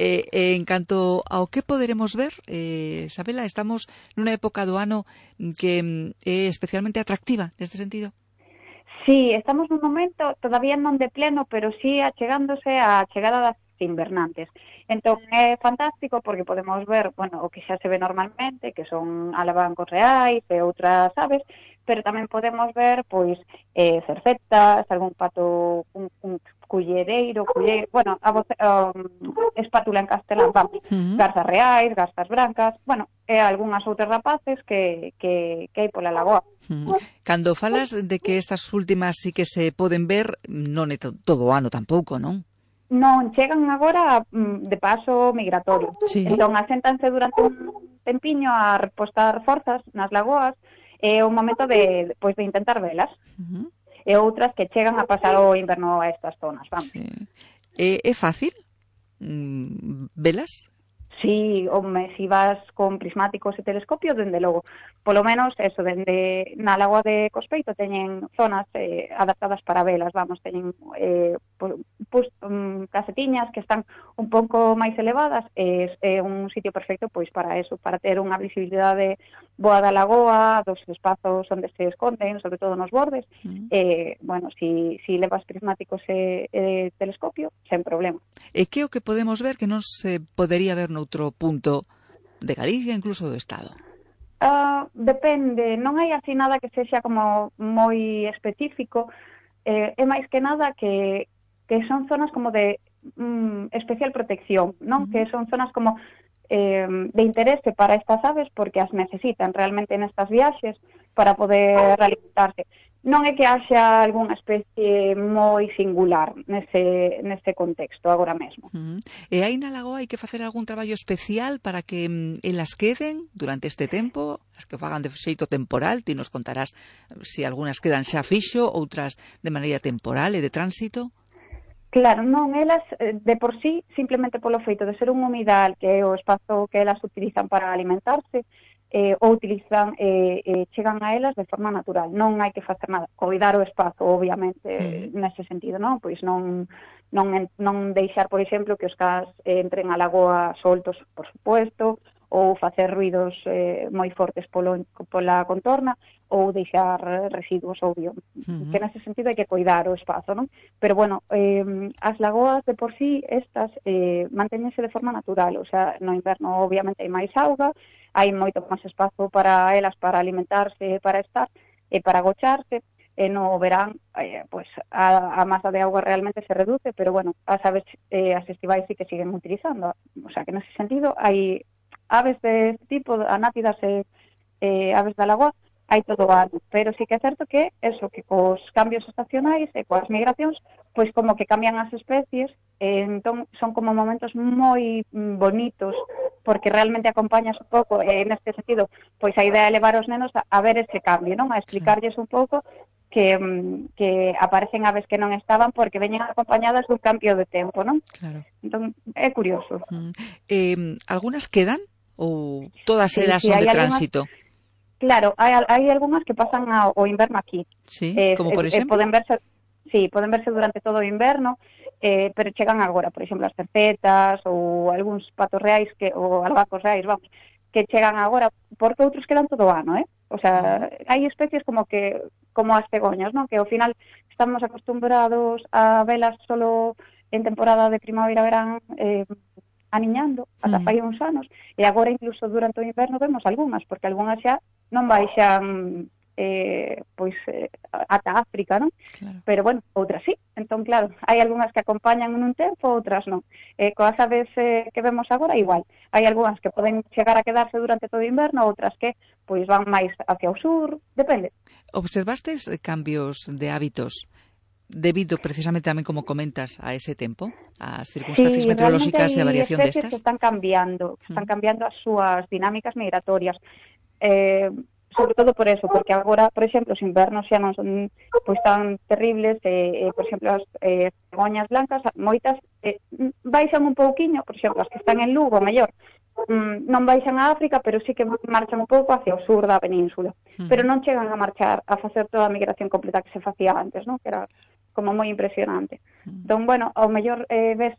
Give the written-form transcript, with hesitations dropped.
En canto ao que poderemos ver, Sabela, estamos nunha época do ano que é especialmente atractiva neste sentido. Sí, estamos nun momento, todavía non de pleno, pero sí achegándose a chegada das invernantes. Entón é fantástico porque podemos ver, bueno, o que xa se ve normalmente, que son alabancos reais e outras aves, pero tamén podemos ver, pois, cercetas, algún pato, un cullereiro, bueno, espátula en castelán, vamos, garzas reais, garzas brancas, bueno, e algunhas outras rapaces que hai pola lagoa. Cando falas de que estas últimas sí que se poden ver, non é todo o ano tampouco, non? Non, chegan agora de paso migratorio. Sí. Entón, aséntanse durante un tempiño a repostar forzas nas lagoas, é un momento de intentar velas. E outras que chegan a pasar o inverno a estas zonas, vamos. Sí. É fácil velas? Sí, home, si vas con prismáticos e telescopio, dende logo. Polo menos, eso, dende na lagoa de Cospeito teñen zonas adaptadas para velas, vamos, teñen casetiñas que están un pouco máis elevadas, é un sitio perfecto pois para eso, para ter unha visibilidade boa da lagoa, dos espazos onde se esconden, sobre todo nos bordes. Bueno, si levas prismáticos e telescopio, sen problema. E que o que podemos ver que non se podería ver noutro punto de Galicia, incluso do Estado? Depende, non hai así nada que sexa como moi específico, é máis que nada que son zonas como de especial protección, non? Que son zonas como de interese para estas aves porque as necesitan realmente nestas viaxes para poder alimentarse. Non é que haxa algunha especie moi singular nese contexto agora mesmo. E aí na lagoa hai que facer algún traballo especial para que elas queden durante este tempo, as que fagan de xeito temporal, ti nos contarás se algunhas quedan xa fixo, outras de maneira temporal e de tránsito? Claro, non, elas de por sí, simplemente polo feito de ser un humidal, que é o espazo que elas utilizan para alimentarse, ou utilizan, chegan a elas de forma natural. Non hai que facer nada, coidar o espazo, obviamente, nese sentido, non? Pois non deixar, por exemplo, que os cans entren á lagoa soltos, por supuesto, ou facer ruidos moi fortes pola contorna, ou deixar residuos, obvio. Que nese sentido hai que coidar o espazo, non? Pero, bueno, as lagoas de por sí, estas, mantéñense de forma natural, o sea, no inverno, obviamente, hai máis auga, hai moito máis espazo para elas, para alimentarse, para estar, e para agocharse, e no verán, pues, a masa de auga realmente se reduce, pero, bueno, as aves, as estivais sí que siguen utilizando, o sea, que nese sentido hai aves de tipo, anátidas e aves da lagoa, hai todo o ano, pero sí que é certo que eso, que cos cambios estacionais e coas migracións, pois como que cambian as especies, entón son como momentos moi bonitos, porque realmente acompañas un pouco, neste sentido, pois a idea é levar os nenos a ver ese cambio, non? A explicarlles un pouco que aparecen aves que non estaban porque veñen acompañadas dun cambio de tempo, non? Claro. Entón, é curioso. Algunhas quedan ou todas elas son de tránsito? Claro, hai algunhas que pasan o inverno aquí. Sí, como por exemplo? Poden verse durante todo o inverno, pero chegan agora, por exemplo, as cercetas ou algúns patos reais ou albacos reais, vamos, que chegan agora, porque outros quedan todo o ano, O sea, hai especies como as cegoñas, non? Que ao final estamos acostumbrados a velas solo en temporada de primavera-verán, aniñando, ata fai uns anos, e agora incluso durante o inverno vemos algunhas, porque algunhas xa non baixan ata África, non? Claro. Pero, bueno, outras sí. Entón, claro, hai algunhas que acompañan nun tempo, outras non. Coas aves que vemos agora, igual. Hai algunhas que poden chegar a quedarse durante todo o inverno, outras que pois van máis hacia o sur, depende. Observastes cambios de hábitos debido precisamente tamén, como comentas, a ese tempo, ás circunstancias meteorológicas e a variación destas? Sí, realmente hai especies que están cambiando as súas dinámicas migratorias, sobre todo por eso, porque agora, por exemplo, os invernos xa non son pois tan terribles, por exemplo, as cegoñas blancas, moitas baixan un pouquiño, por exemplo, as que están en Lugo, mellor, non baixan a África, pero sí que marchan un pouco hacia o sur da península, pero non chegan a marchar, a facer toda a migración completa que se facía antes, non? Que era como moi impresionante. Entón, bueno, ao mellor ves